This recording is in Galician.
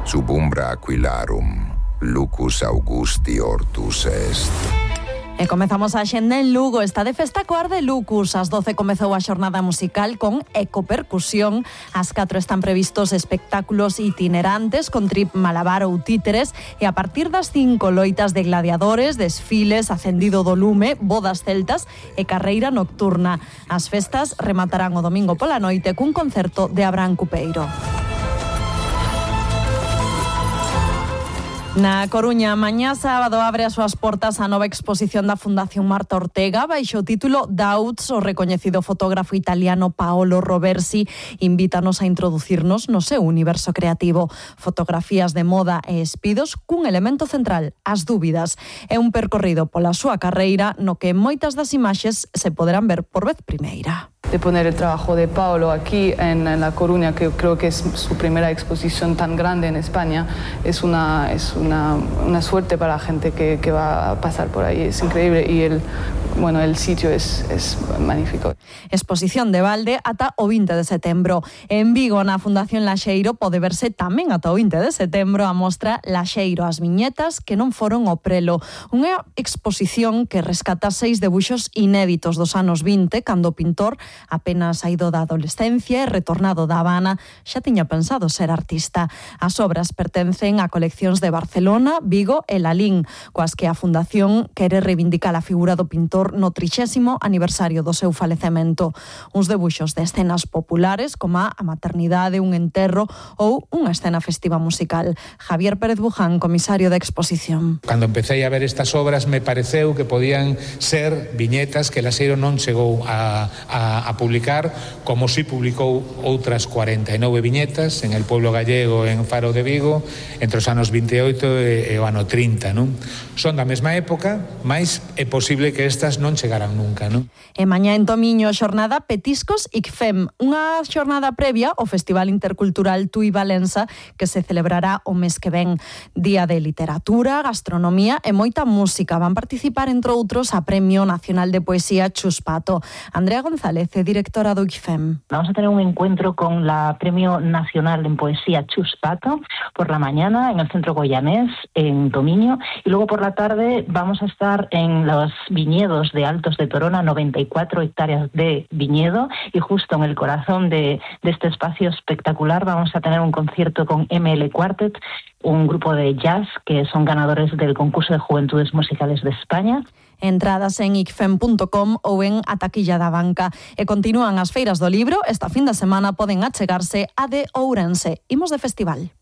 sub umbra aquilarum, lucus Augusti ortus est. E comezamos a xenda en Lugo. Está de festa coa Arde Lucus. Ás 12 comezou a xornada musical con ecopercusión. Ás 4 están previstos espectáculos itinerantes con trip malabar ou títeres. E a partir das 5 loitas de gladiadores, desfiles, acendido do lume, bodas celtas e carreira nocturna. As festas rematarán o domingo pola noite cun concerto de Abraham Cupeiro. Na Coruña, mañá sábado abre as súas portas a nova exposición da Fundación Marta Ortega baixo o título Doubts. O recoñecido fotógrafo italiano Paolo Roversi invítanos a introducirnos no seu universo creativo. Fotografías de moda e espidos cun elemento central, as dúbidas. É un percorrido pola súa carreira no que moitas das imaxes se poderán ver por vez primeira. De poner el trabajo de Paolo aquí en La Coruña, que creo que es su primera exposición tan grande en España, es una suerte para la gente que va a pasar por ahí. Es increíble y el sitio es magnífico. Exposición de balde ata o 20 de setembro. En Vigo, na Fundación Laxeiro, pode verse tamén ata o 20 de setembro a mostra Laxeiro, as viñetas que non foron o prelo. Unha exposición que rescata 6 debuxos inéditos dos anos 20, cando o pintor apenas saído da adolescencia e retornado da Habana xa tiña pensado ser artista. As obras pertencen a coleccións de Barcelona, Vigo e Lalín, coas que a Fundación quere reivindicar a figura do pintor no 30º aniversario do seu falecemento. Uns debuxos de escenas populares como a maternidade, un enterro ou unha escena festiva musical. Javier Pérez Buján, comisario da exposición. Cando empecé a ver estas obras me pareceu que podían ser viñetas que Laxeiro non chegou a publicar, como si publicou outras 49 viñetas en El Pueblo Gallego, en Faro de Vigo, entre os anos 28 e o ano 30, non? Son da mesma época, mas é posible que estas non chegaran nunca, non? E mañá en Tomiño, xornada Petiscos ICFEM, unha xornada previa ao Festival Intercultural Tui Valença, que se celebrará o mes que ven. Día de literatura, gastronomía e moita música. Van participar, entre outros, a Premio Nacional de Poesía Chus Pato. Andrea González, directora do ICFEM. Vamos a tener un encuentro con la Premio Nacional en Poesía Chus Pato por la mañana en el Centro Goyanés, en Tomiño, y luego por la tarde vamos a estar en los viñedos de Altos de Torona, 94 hectáreas de viñedo, y justo en el corazón de este espacio espectacular vamos a tener un concierto con ML Quartet, un grupo de jazz que son ganadores del concurso de Juventudes Musicales de España. Entradas en icfem.com ou en a taquilla da banca. E continúan as feiras do libro. Esta fin de semana poden achegarse a de Ourense. Imos de festival.